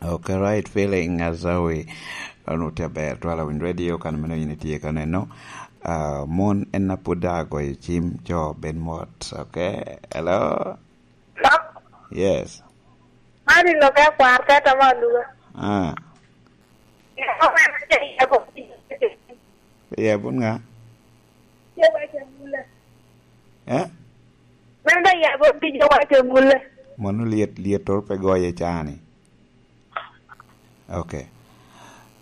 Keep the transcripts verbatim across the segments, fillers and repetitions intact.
Okay, right feeling, Azawi. Onwoŋo tye aber twala winy radio kan meno yin itye ka neno. Ah, mon en a pwod daŋ agoyo cim, co bed mot. Okay, hello? Hello? Yes. Mari lo ka kwar ka tama luga. Ah. Ya bun nga? Eh? Men ba ya bo pi jo wacho mule. Mono liet, liet toro pe goye cani. Okay.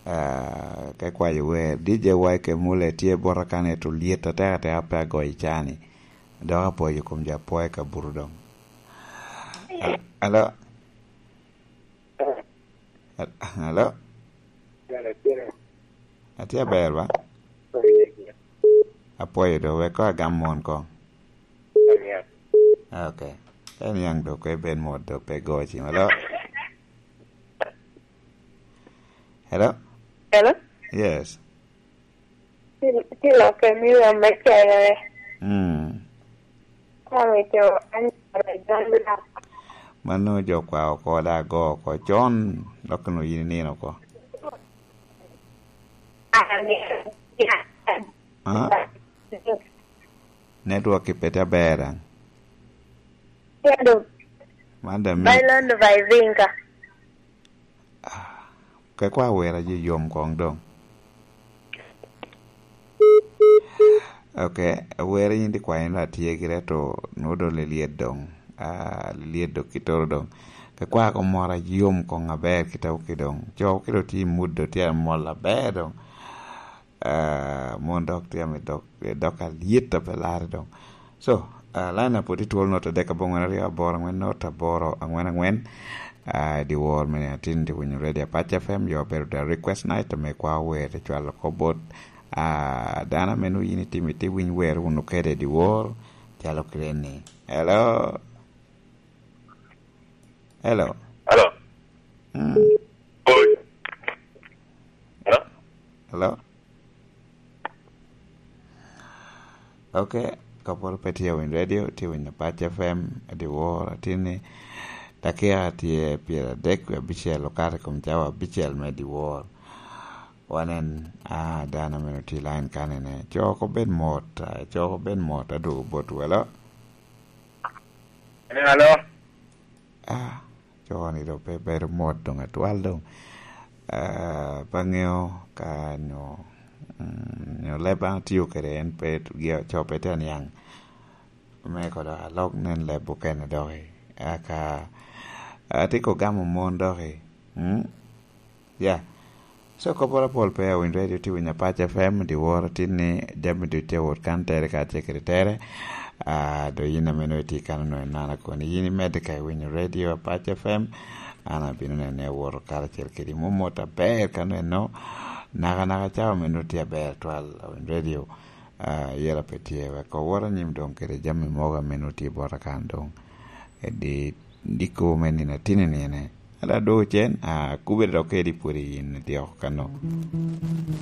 Ah, ka kwayo wer, D J Y Kemule tye bota kane to liet atek atek pe agoyo cani. Dok apwoyo kom jo apwoyo ka buto dong. Al-, alo? Al-, alo? Atye aber ba? Apwoyo do, wek ko agam mon ko. Okay. En yang do, ko ibed mot do, pe go cim. Alo? Hello? Hello? Yes. Ti, ti lokke mi rom me cere. Mm. Kwame co anyara John Black. Mano jo kwa oko da go oko con, dok no yin nino oko. Ah? Network ipete aber ang? Kendo. Man da mi. Bailando by Vinga. Ah, ke kwa wera je yom kong dong. Okay, wera yin di kwa yin atye gire to no do lilyet dong. Ah, lilyet do kitoro dong. Ke kwa ko mora yom kong aber kita uki dong. Co kiro ti muddo ti amol aber dong. Ah, mon dok tye ame dok, dok alyet a pe lare dong. So, ah, line up oti twol not adek abongwen aryo aboro angwen not aboro angwen angwen. Ah, di wor mene atin di winyo radio Apac F M, yo bedo da request night, ame kwa wer te cwalo ko bot, ah, dano ame nu yin itimo iti winy wer wunu kede di wor, calo kire ni. Hello? Hello? Hello? Mm. Oi. Hello? Hello? Okay, koporo pe tye winy radio, tye winy Apac F M, di wor atin ni, dakika tye pyeradek wie abicel, okato i kom cawa abicel me di wor. Wanen, ah, dano meno tye line kanene. Cok obed mot, ah, cok obed mot, adwogo bot welo. Hello? Ah, coo ni dong pe bedo mot dong atwal dong. Ah, pe aŋeo ka nyo, mm, nyo leb an atio kede en pe, gi-, coo pe tye aniaŋ. Me kodo alok nen leb okene doki. Aka, atye ko gamo mon doki. Mm? Ya. So, kopporo apol pe awinyo radio tye winyo Apac F M, dyewor atin ni jami ducu tye wot kan tere kacel kede tere. Ah, do yin ame nongo itye kan onongo inana koni. Yin imedde ka iwinyo radio Apac F M, an abino nene awoto karacel kedi. Mot mot aber kan eno, naka naka cawa me nongo tye aber twal awinyo radio. Ah, yela pe tye, wek owot anyim dong kede jami mogo ame nongo tye bota kan dong. Edi, diko me nino atin i nine. Ala dwogo cen, ah, kubere dok kedi pwod i yin idyeko kano.